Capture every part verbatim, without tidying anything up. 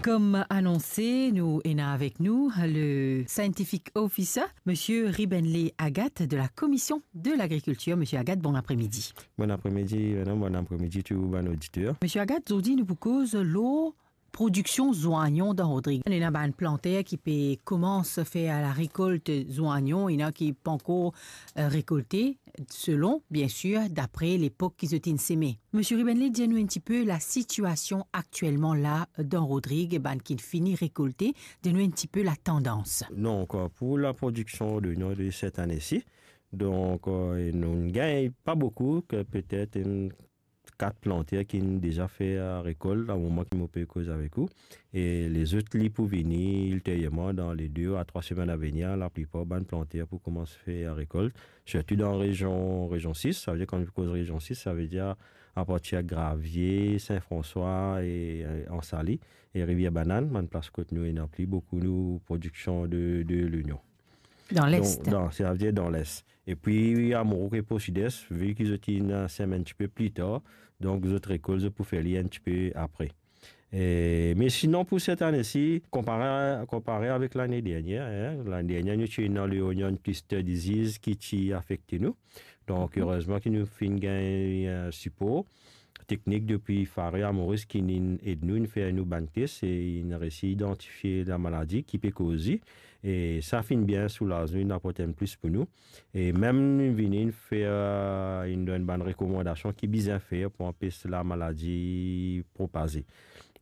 Kom anonse, nou ena avek nou le scientific officer, Monsieur Ribenley Agathe de la Commission de l'Agriculture. Monsieur Agathe, bon apremidi. Bon apremidi, madam, bon apremidi tou bann oditer. Monsieur Agathe, zordi nou pou koz lor prodiksion zwanyon dan Rodrig. Ena bann planter ki pe koumans fer larekolt zwanyon, ena ki pankor, eh, rekolte, selon, biensir, dapre lepok ki zot inn seme. Monsieur Ribenley, dir nou enn tipe lasitiasion aktielman la dan Rodrig, bann ki fini rekolte, dir nou enn tipe latandans. Donk, pou laprodiksion de nou de set ane-si, donk, eh, nou gagn pa boukou, ke petet enn kat planter ki deza fer rekolt, dan moman ki mo pe koz avek ou. E lezot li pou vini ilteryerman dan le de a trwa semenn avenir, laplipar bann planter pou koumans fer rekolt, sirtou dan rezion, rezion sis. Savedir, kan nou koz rezion sis, savedir apartir Gravie, Sin Franswa e, eh, Ansali e Rivier Banane, bann plas kot nou ena pli boukou nou prodiksion de, de lonyon. Dan Les. Donk, dan, savedir dan Les. Epi, Amoros ek Port Sud-Est, vi ki zot inn sem enn tipe pli tar, donk zot rekolt, zot pou fer li enn tipe apre. E, me sinon, pou set ane-si, konpare, konpare avek lane dernier, hein, lane dernier, nou ti ena le Onion Cluster Disease ki ti afekte nou. Donk, erezman ki nou finn gagn, eh, sipor teknik depi Faro Amoris ki inn ed nou, inn fer nou bann tes e inn resi idantifie lamaladi ki pe koz li. E sa finn bien soulaz nou, inn aport enn plis pou nou. E mem nou vini inn fer, eh, inn donn bann rekomandasion ki bizin fer pou anpes lamaladi propaze.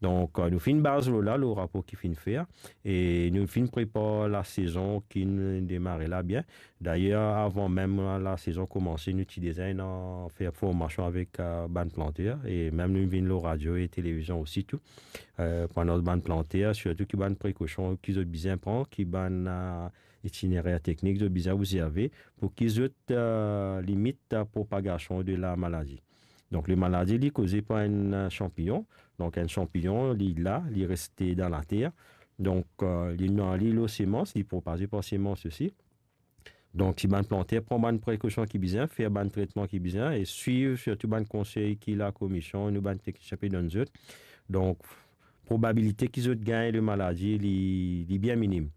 Donk, eh, nou finn baz lor la, lor rapor ki finn fer, e nou finn prepar lasezon ki demare la bien. Dayer, avan mem lasezon koumanse, nou ti deza inn fer formasion avek, eh, bann planter, e mem nou vinn lor radio e televizion osi tou, eh, pou anons bann planter, sirtou ki bann prekosion ki zot bizin pran, ki bann, eh, itinerer teknik zot bizin obzerve, pou ki zot, eh, limit, eh, propagasion de lamaladi. Donk, lamaladi, li koze par enn, eh, sanpignon. Donk, enn sanpignon, li la, li reste dan later. Donk, eh, li ena li lor semans, li propaze par semans osi. Donk, si bann planter pran bann prekosion ki bizin, fer bann tretman ki bizin, e swiv sirtou bann konsey ki lakomision, nou bann teknisien pe donn zot. Donk, probabilite ki zot gagn lamaladi, li, li bien minim.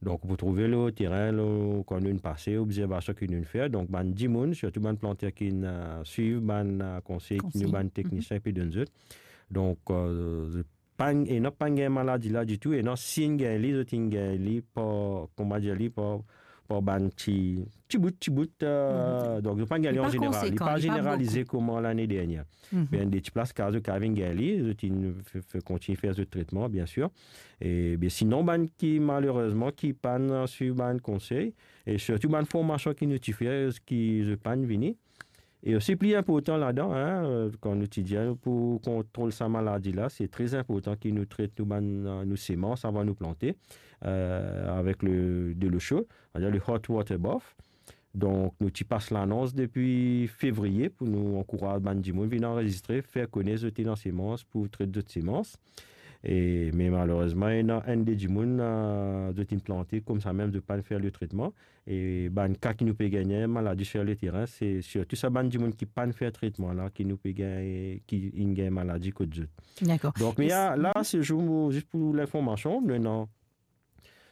Donk, pou trouve lor terin, lor, kan nou pase, obzervasion ki nou fer, donk, bann dimoun, sirtou bann planter ki inn, eh, swiv bann, eh, konsey ki nou bann teknisien pe donn zot. Donk, eh, pa, ena pa gagn maladi la ditou, ena si inn gagn li, zot inn gagn li par, kouma dir li, par, par bann ti, ti bout, ti bout, eh, donk, zot pa gagn li an zeneral, li pa zeneralize kouma lane dernier. Me enn de ti plas, kan zot kapav vinn gagn li, zot inn fe, fe, kontign fer zot tretman, biensir. E, be, sinon, bann ki, malerezman, ki pa'nn swiv bann konsey, e sirtou bann formasion ki nou ti fer, ki zot pa'nn vini, e osi pli inportan ladan, hein, kan nou ti dir pou kontrol sa maladi la, se tre inportan ki nou tret nou bann, nou semans avan nou plante, eh, avek le, delo so, savedir le hot water bath. Donk, nou ti pas lanons depi fevriye pou nou ankouraz bann dimoun vinn anrezistre, fer kone zot ena semans pou tret zot semans. E, me malerezman, ena enn de dimoun, eh, zot inn plante koumsa mem, zot pa'nn fer le tretman. E bann ka ki nou pe gagne maladi sir leterin, se sirtou sa bann dimoun ki pa'nn fer tretman la, ki nou pe gagne, ki inn gagn maladi kot zot. Dakor. Donk, me la, se zour, zis pou linformasion, nou ena,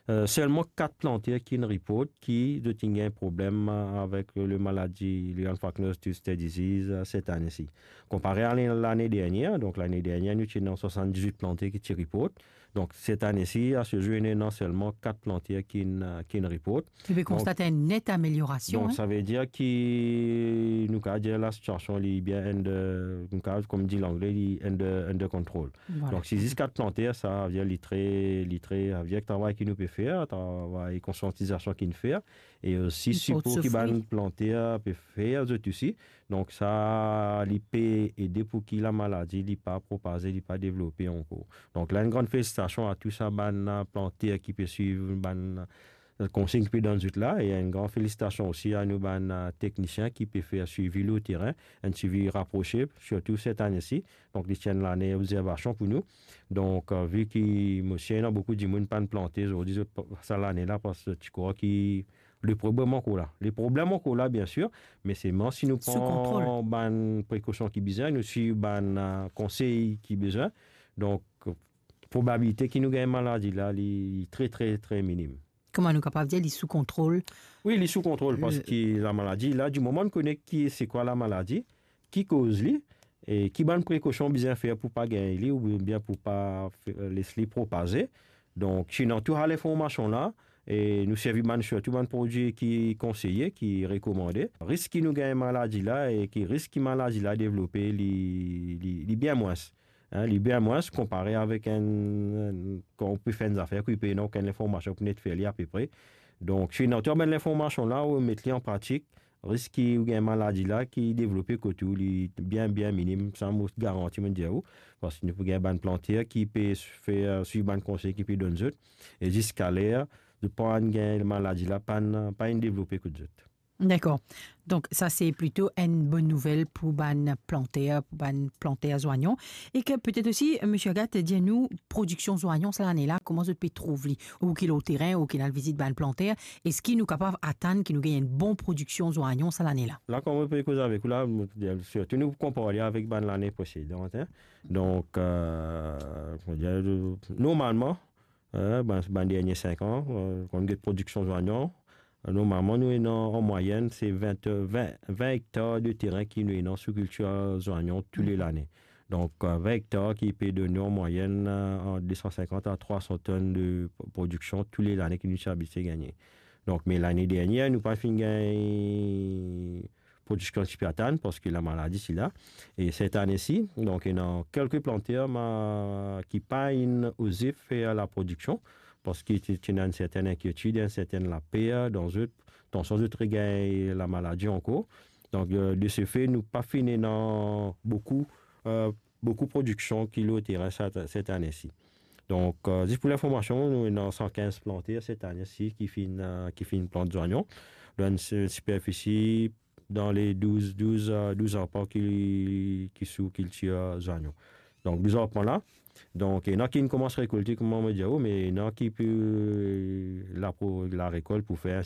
eh, selman kat planter ki inn report ki zot inn gagn problem, eh, avek le maladi, le anthracnose duster disease, eh, set ane-si. Konpare a lane, lane dernier, donk lane dernier, nou ti ena swasann-diz-wit planter ki ti report. Donk, set ane-si, a se zour, ena selman kat planter ki inn, ki inn report. Donk, nou pe konstate enn net ameliorasion, donk, hein. Savedir ki nou kapav dir lasitiasion, li bien under, nou kapav, kouma dir Langle, li under, under control. Vwala. Donk, si zis kat planter, savedir li tre, li tre, savedir travay ki nou pe fer, travay konsiantizasion ki nou fer, e osi sipor ki bann planter pe fer, zot osi. Donk sa, li pe ede pou ki lamaladi, li pa propaze, li pa devlope ankor. Donk la, enn gran felisitasion a tou sa bann, eh, planter ki pe swiv bann, eh, konsey ki pe donn zot la, e enn gran felisitasion osi a nou bann, eh, teknisien ki pe fer swivi lor terin, enn swivi raprose, sirtou set ane-si. Donk, li ti enn lane obzervasion pou nou. Donk, eh, vi ki, mo sir, ena boukou dimoun pa'nn plante zordi, zot, sa lane la, parski zot ti krwar ki le problem ankor la. Le problem ankor la, biensir, me selman si nou pran bann prekosion ki bizin, nou swiv bann, eh, konsey ki bizin. Donk, probabilite ki nou gagn maladi la, li, li tre, tre, tre minim. Kouma nou kapav dir, li sou kontrol? Wi, li sou kontrol, parski lamaladi la, dimoman nou kone ki, se kwa lamaladi, ki koz li, e ki bann prekosion bizin fer pou pa gagn li, oubien pou pa fe-, les li propaze. Donk, si nou ena tou sa linformasion la, e nou servi bann, sirtou bann prodwi ki konseye, ki rekomande, risk ki nou gagn maladi la e ki risk ki maladi la devlope, li, li, li bien mwins. Hein, li bien mwins konpare avek enn, enn, kan ou pe fer enn zafer, ki pe ena okenn linformasion pou net fer li apepre. Donk, si nou ena tou bann linformasion la, ou met li an pratik, risk ki ou gagn maladi la ki devlope kot ou, li bien, bien minim, sa mo garanti, mo dir ou, parski nou pou gagn bann planter ki pe fer, swiv bann konsey ki pe donn zot, e ziska ler zot pa'nn gagn maladi la, pa'nn, pa'nn devlope kot zot. Dakor. Donk, sa se plito enn bonn nouvel pou bann planter, pou bann planter zwanyon. E ke petet osi, Misie Agathe, dir nou, prodiksion zwanyon sa lane la, kouma zot pe trouv li? Ou ki lor terin, ou ki al vizit bann planter, eski nou kapav atann ki nou gagn enn bon prodiksion zwanyon sa lane la? La, kan mo pe koz avek ou la, mo dir, sirtou nou konpar li avek bann lane presedan, hein. Donk, euh, mo dir, normalman, hein, bann, bann dernie sink an, euh, kan nou get prodiksion zwanyon, euh, normalman, nou ena an mwayenn, se vin, vin, vin ektar de terin ki nou ena sou kiltir zwanyon tou le lane. Donk, euh, vin ektar ki pe donn nou an mwayenn, euh, ant de san sinkant a trwa san tonn de pro-, prodiksion tou le lane ki nou ti abitye gagne. Donk, me lane dernie, nou pa finn gagn prodiksion ti pe atann, parski lamaladi ti la. E set ane si, donk, ena kelke planter ma-, ki pa'nn oze fer laprodiksion, parski ti, ti ena enn sertenn inkietid, enn sertenn laper dan zot, tansion zot regagn lamaladi ankor. Donk, euh, de se fe, nou pa finn ena boukou, euh, boukou prodiksion ki lor terin set, set ane si. Donk, euh, zis pou linformasion, nou ena san kinz planter set ane si ki finn, euh, ki finn plant zwanyon. Dan enn si-, siperfisi dan le douz, douz, euh, douz arpan ki, ki sou kiltir zwanyon. Donk, douz arpan la. Donk, ena ki finn koumans rekolte, kouma mo dir ou, me ena ki pou, euh, lapro-, larekolt pou fer